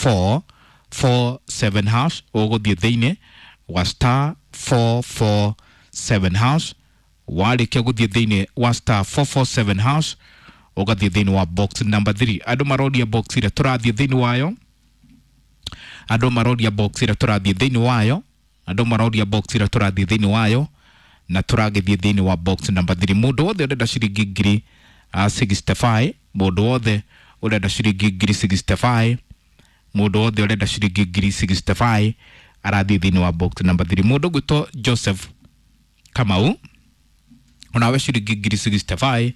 447 hash, ũgũthiĩ thĩinĩ wa star 447 hash. Warĩkia gũthiĩ thĩinĩ wa star 447 hash, ũgathiĩ thĩinĩ wa box number 3. Andũ maroria box ĩrĩa tũrathiĩ thĩinĩ wayo, andũ maroria box ĩrĩa tũrathiĩ thĩinĩ wayo, andũ maroria box ĩrĩa tũrathiĩ thĩinĩ wayo, na tũragĩthiĩ thĩinĩ wa box number 3. Mũndũ wothe ũrenda ciringi ngiri 65, mũndũ wothe ũrenda ciringi ngiri 65, mũndũ wothe ũrenda ciringi ngiri 65 arathiĩ thĩinĩ wa box number 3. Mũndũ ũgwĩtwo Joseph Kamau, onawe ciringi ngiri 65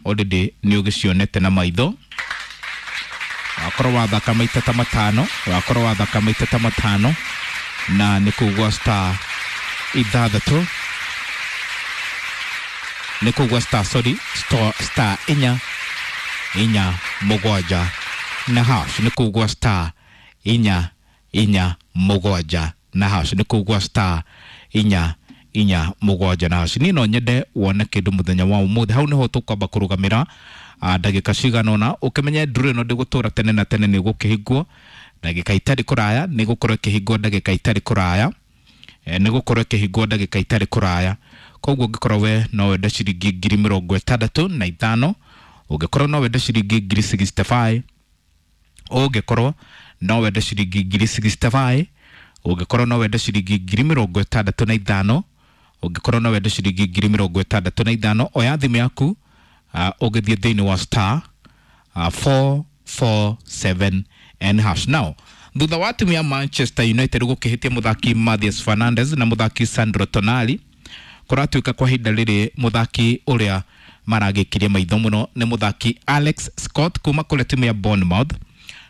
already nĩ ũgĩcionete na maitho. Wakorwo wathaka maita ta matano, wakorwo wathaka maita ta matano, na nĩ kũgwa star ithathatũ, nĩ kũgwa star, sorry, star, star inya inya mũgwanja na hash, nĩ kũgwa star inya inya mũgwanja na hash, nĩ kũgwa star inya inya mũgwanja na hash. Niĩ no nyende wone kĩndũ mũthenya wa ũmũthĩ. Hau nĩho tũkwamba kũrũgamĩra ndagĩka cigana ũna, ũkĩmenye nduru ĩno ndĩgũtũra tene na tene, nĩ gũkĩhingwo ndagĩka itarĩ kũraya, nĩ gũkorwo ĩkĩhingwo ndagĩka itarĩ kũraya, nĩ gũkorwo ĩkĩhingwo ndagĩka itarĩ kũraya. Koguo ũngĩkorwo we no wende ciringi ngiri mĩrongo ĩtandatũ na ithano, ũngĩkorwo no wende ciringi ngiri 65, ũngĩkorwo no wende ciringi ngiri 65, ũngĩkorwo no wende ciringi ngiri mĩrongo ĩtandatũ na ithano, ũngĩkorwo no wende ciringi ngiri mĩrongo ĩtandatũ na ithano, oya thimũ yaku, ũgĩthiĩ thĩinĩ wa star 447 n hash. Now thutha wa timu ya Manchester United gũkĩhĩtia mũthaki Mathias Fernandes na mũthaki Sandro Tonali, kũratuĩka kwa ihinda rĩrĩ mũthaki ũrĩa maragĩkirie maitho mũno nĩ mũthaki Alex Scott kuma kũrĩa timu ya Bournemouth.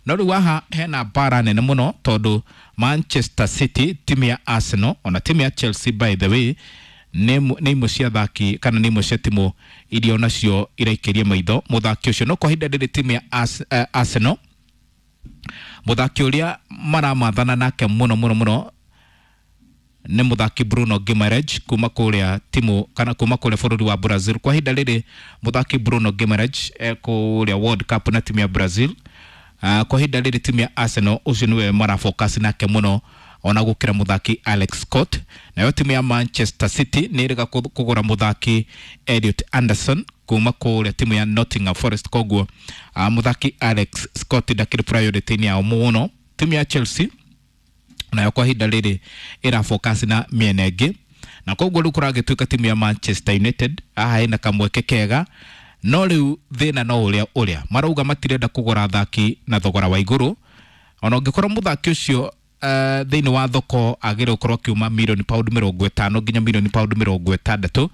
No rĩu haha hena mbara nene mũno, tondũ Manchester City, timu ya Arsenal, ona timu ya Chelsea, by the way, nĩ imwe cia athaki kana nĩ imwe cia timu iria onacio iraikĩria maitho mũthaki ũcio. No kwa ihinda rĩrĩ timu ya Arsenal, mũthaki ũrĩa maramathana nake mũno mũno mũno nĩ mũthaki Bruno Guimaraes kuma kũrĩa timu kana kuma kũrĩa bũrũri wa Brazil. Kwa ihinda rĩrĩ mũthaki Bruno Guimaraes kũrĩa World Cup na timu ya Brazil. Kwa ihinda rĩrĩ timu ya Arsenal ũcio nĩwe marafocus nake mũno ona gũkĩra mũthaki Alex Scott. Nayo timu ya Manchester City nĩ ĩrega kũgũra mũthaki Elliot Anderson kuma kũrĩa timu ya Nottingham Forest. Koguo mũthaki Alex Scott ndakĩrĩ priority-inĩ yao mũno. Timu ya Chelsea nayo kwa ihinda rĩrĩ ĩra focus na mĩena ĩngĩ, na koguo rĩu kũragĩtuĩka timu ya Manchester United haha ĩna kamweke kega. No rĩu thĩna no ũrĩa ũrĩa marauga matirenda kũgũra athaki na thogora wa igũrũ, ona ũngĩkorwo mũthaki ũcio thĩinĩ wa thoko agĩrĩire gũkorwo akiuma mirioni pound mĩrongo ĩtano nginya mirioni pound mĩrongo ĩtandatũ.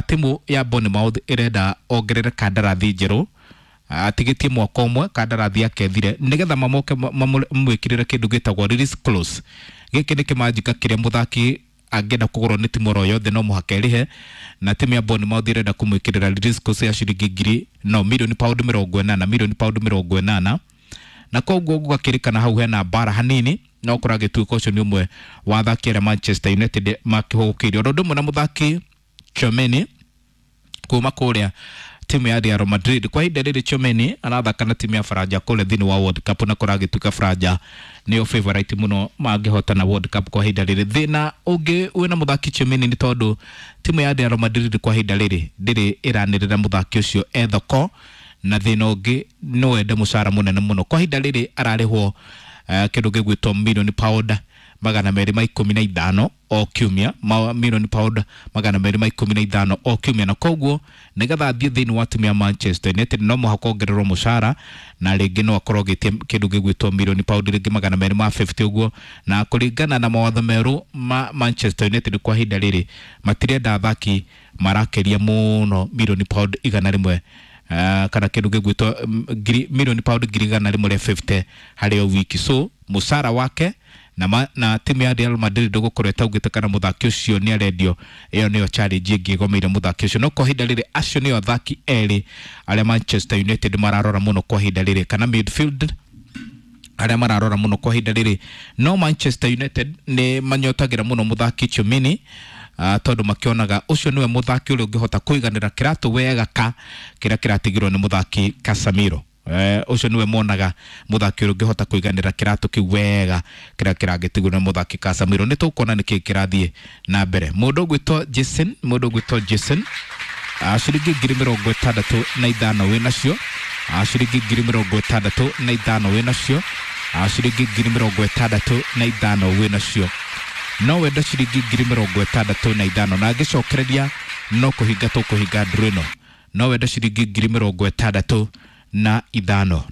Timu ya Bournemouth ĩrenda ongerere kandarathi njerũ, atigĩtie mwaka ũmwe kandarathi yake ĩthire, nĩgetha mamoke mamwĩkĩrĩre kĩndũ gĩtagwo release clause. Gĩkĩ nĩ kĩmanjika kĩrĩa mũthaki angĩenda kũgũrwo nĩ timu oro yothe no mũhaka ĩrĩhe, na timu ya Bournemouth ĩrenda kũmwĩkĩrĩra release clause ya ciringi ngiri no mirioni pound mĩrongo ĩnana, mirioni pound mĩrongo ĩnana. Na koguo gũgakĩrĩkana hau hena mbara hanini, no kũragĩtuĩka ũcio nĩ ũmwe wa athaki arĩa Manchester United makĩhũgũkĩirio, oro ũndũ ũmwe na mũthaki Tchouameni kuma kũrĩa timu ya Real Madrid. Kwa ihinda rĩrĩ Tchouameni arathaka na timu ya Faranja kũrĩa thĩinĩ wa World Cup, na kũragĩtuĩka Faranja nĩyo favorite mũno mangĩhotana World Cup kwa ihinda rĩrĩ. Thĩna ũngĩ wĩna mũthaki Tchouameni nĩ tondũ timu ya Real Madrid kwa ihinda rĩrĩ ndĩrĩ ĩranĩrĩra mũthaki ũcio e thoko, na thĩna ũngĩ no wende mũcara mũnene mũno. Kwa ihinda rĩrĩ ararĩhwo kĩndũ gĩgwĩtwo mirioni pound magana merĩ ma ikũmi na ithano o kiumia, mirioni pound magana merĩ ma ikũmi na ithano o kiumia. Na koguo nĩgetha athiĩ thĩinĩ wa timu ya Manchester United no mũhaka ongererwo mũcara, na rĩngĩ no akorwo agĩtia kĩndũ gĩgwĩtwo mirioni pound rĩngĩ magana merĩ ma 50 ũguo. Na kũringana na mawatho merũ ma Manchester United kwa ihinda rĩrĩ matirenda athaki marakĩria mũno mirioni pound igana rĩmwe, kana kĩndũ gĩgwĩtwo mirioni pound ngiri igana rĩmwe rĩa 50 harĩ o wiki. So mũcara wake na timu ya Real Madrid ndũgũkorwo ĩtaugĩte kana mũthaki ũcio nĩ arendio, ĩyo nĩyo challenge ĩngĩ ĩgomeire mũthaki ũcio. No kwa ihinda rĩrĩ acio nĩo athaki erĩ arĩa Manchester United mararora mũno kwa ihinda rĩrĩ, kana midfield arĩa mararora mũno kwa ihinda rĩrĩ. No Manchester United nĩ manyotagĩra mũno mũthaki Tchouameni, tondũ makĩonaga ũcio nĩwe mũthaki ũrĩa ũngĩhota kũiganĩra kĩratũ wega ka kĩrĩa kĩratigirwo nĩ mũthaki Casemiro. Ũcio nĩwe monaga mũthaki ũrĩa ũngĩhota kũiganĩra kĩratũ kĩu wega kĩrĩa kĩragĩtigwo nĩ mũthaki Casemiro. Nĩ tũkuona nĩkĩ kĩrathiĩ na mbere. Mũndũ ũgwĩtwo Jason, mũndũ ũgwĩtwo Jason, ciringi 65,000 wĩnacio, ciringi 65,000 wĩnacio, ciringi 65,000 wĩnacio. No wende ciringi 65,000 na ngĩcokereria no kũhinga tũkũhinga nduru ĩno. No wende ciringi 65,000,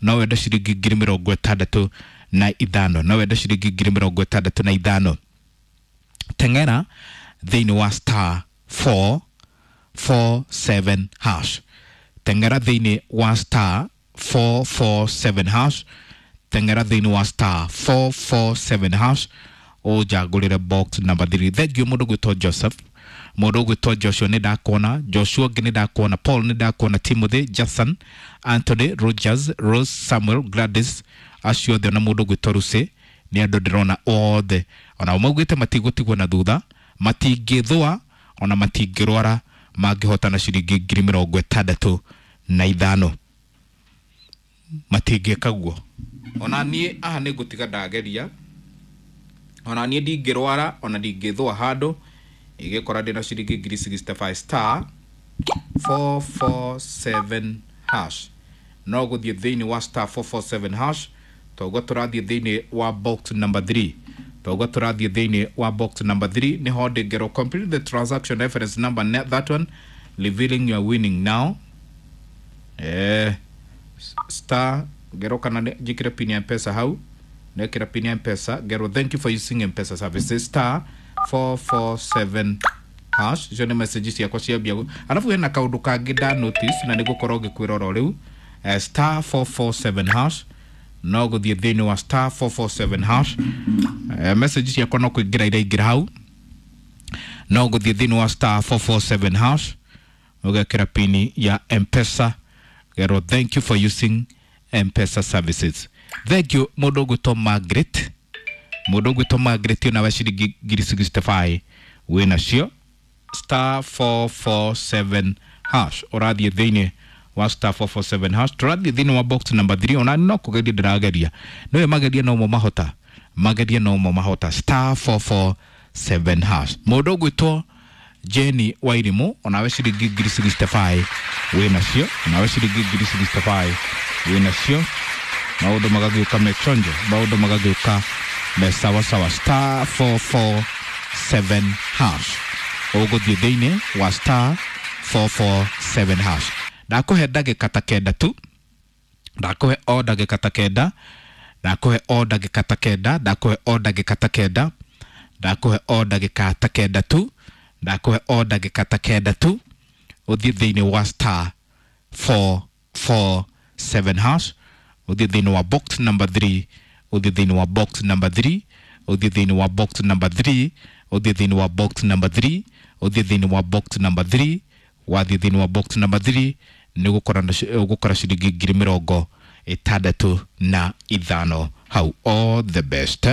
no wende ciringi 65,000, no wende ciringi 65,000. Teng'era thĩinĩ wa star 447 hash, teng'era thĩinĩ wa star 447 hash, teng'era thĩinĩ wa star 447 hash ũnjagũrĩre box number 3. Thank you mũndũ gwĩtwo Joseph, mũndũ ũgwĩtwo Joshua nĩ ndakuona, Joshua ũngĩ nĩ ndakuona, Paul nĩ ndakuona, Timothy, Jason, Anthony, Rogers, Rose, Samuel, Gladys, acio othe ona mũndũ ũgwĩtwo Lucy nĩ andũ ndĩrona othe ona maugĩte matigũtigwo na thutha, matingĩthũa ona matingĩrwara mangĩhotana ciringi 65,000, matingĩka guo. Ona niĩ aha nĩ ngũtiga ndageria, ona niĩ ndingĩrwara ona ndingĩthũa handũ igĩkora ndĩna ciringi 65,000 star 447 hash. No gũthiĩ thĩinĩ wa star 447 hash, toguo tũrathiĩ thĩinĩ wa box number 3, toguo tũrathiĩ thĩinĩ wa box number 3 nĩho ndĩngerwo complete the transaction reference number, that one revealing your winning now. Star ngerwo kana njĩkĩre pin ya M-Pesa hau, nekĩra pin ya M-Pesa, ngerwo thank you for using M-Pesa services star 447 hash. Icio nĩ message ciakwa ciambia. Alafu hena kaũndũ kangĩ nda notice na nĩ gũkorwo ngĩkwĩra oro rĩu, star 447 hash, no gũthiĩ thĩinĩ wa star 447 hash. Message ciakwa no kũingĩra iraingĩra hau, no gũthiĩ thĩinĩ wa star 447 hash ũgekĩra pini ya M-Pesa, gerwo thank you for using M-Pesa services. Thank you mũndũ ũgwĩtwo Margaret, mũndũ ũgwĩtwo Margaret onawe ciringi 65,000 wĩnacio, star 447 hash ũrathiĩ thĩinĩ wa star 447 hash, tũrathiĩ thĩinĩ wa box number 3. Ona no kũgeria ndĩrageria, nĩwe mageria no mo mahota, mageria no mo mahota, star 447 hash. Mũndũ ũgwĩtwo Jenny Wairimu onawe ciringi 65,000 wĩnacio, onawe ciringi 65,000 wĩnacio. Maũndũ magagĩũka mechonjo, maũndũ magagĩũka me sawasawa, star 447 hash ũgũthiĩ thĩinĩ wa star 447 hash. Ndakũhe ndagĩka ta kenda tu, ndakũhe o ndagĩka ta kenda, ndakũhe o ndagĩka ta kenda, ndakũhe o ndagĩka ta kenda, ndakũhe o ndagĩka ta kenda tu, ndakũhe o ndagĩka ta kenda tu, ũthiĩ thĩinĩ wa star 447 hash, ũthiĩ thĩinĩ wa box number 3, ũthiĩ thĩinĩ wa box number 3, ũthiĩ thĩinĩ wa box number 3, ũthiĩ thĩinĩ wa box number 3, ũthiĩ thĩinĩ wa box number 3, wathiĩ thĩinĩ wa box number 3 nĩ ũgũkora ciringi 65,000 hau. All the best.